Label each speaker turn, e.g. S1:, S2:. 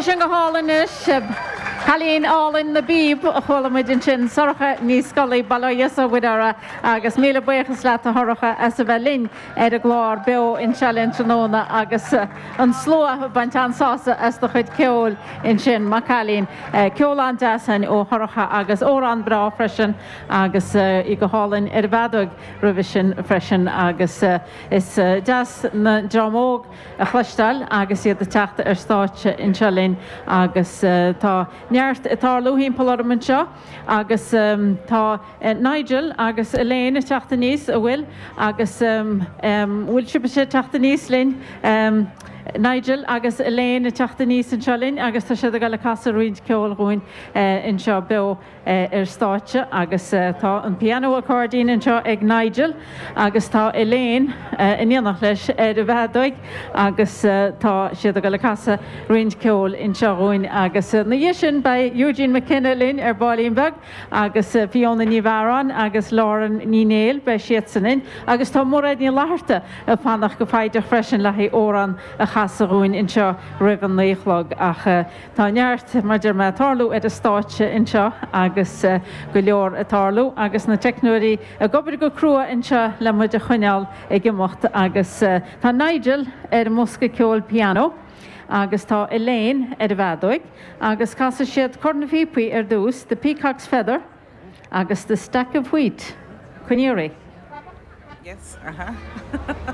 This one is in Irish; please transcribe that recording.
S1: sé sin go hálainn anois. Cailín álainn na bpíob a chuala muid ansin, Sorcha Ní Scolaí, Bail ó Dhia 's ó Mhuire uirthi agus míle buíochas leat a Shorcha as a bheith linn ar an gclár beo anseo linn tráthnóna agus an slua ag baint an-sásamh as do chuid ceoil ansin, maith cailín. Ceol an-deas ann ó Shorcha agus amhrán breá freisin agus í go hálainn ar an bhfeadóig roimhe sin freisin agus is deas an dream óg a chloisteáil agus iad ag teacht ar stáitse anseo linn agus tá neart ag tarlú thimpeall orm anseo agus tá Nigel agus Elaine ag teacht aníos, a bhfuil? Agus bhfuil sibhse ag teacht aníos linn? Nigel agus Elaine ag teacht aníos anseo linn agus tá siad ag dul ag casadh roinnt ceoil dhúinn anseo beo. ar stáitse agus tá an pianó accordion anseo ag Nigel agus tá Elaine in éineacht leis ar an bhfeadóig agus tá siad ag dul ag casadh roinnt ceoil anseo dhúinn agus ina dhiaidh sin beidh Eugene McKenna linn ar baillín beag agus Fiona Ní Mhearáin agus Lauren Ní Néill, beidh siadsan linn agus tá Mairéad Ní Fhlatharta ag fanacht go foighdeach freisin le haghaidh amhrán a chasadh dhúinn anseo roimh an naoi a chlog ach Tá neart, mar deir mé, ag tarlú ar an stáitse anseo agus go leor ag tarlú agus na teicneoirí ag obair go crua anseo le muid a choinneáil ag imeacht agus tá Nigel ar an mbosca ceoil pianó agus tá Elaine ar an bhfeadóig agus casfaidh siad Cor na bPíopaí ar dtús, The Peacock's Feather agus The Stack of Wheat. Coinnigh oraibh.
S2: Yes, uh-huh.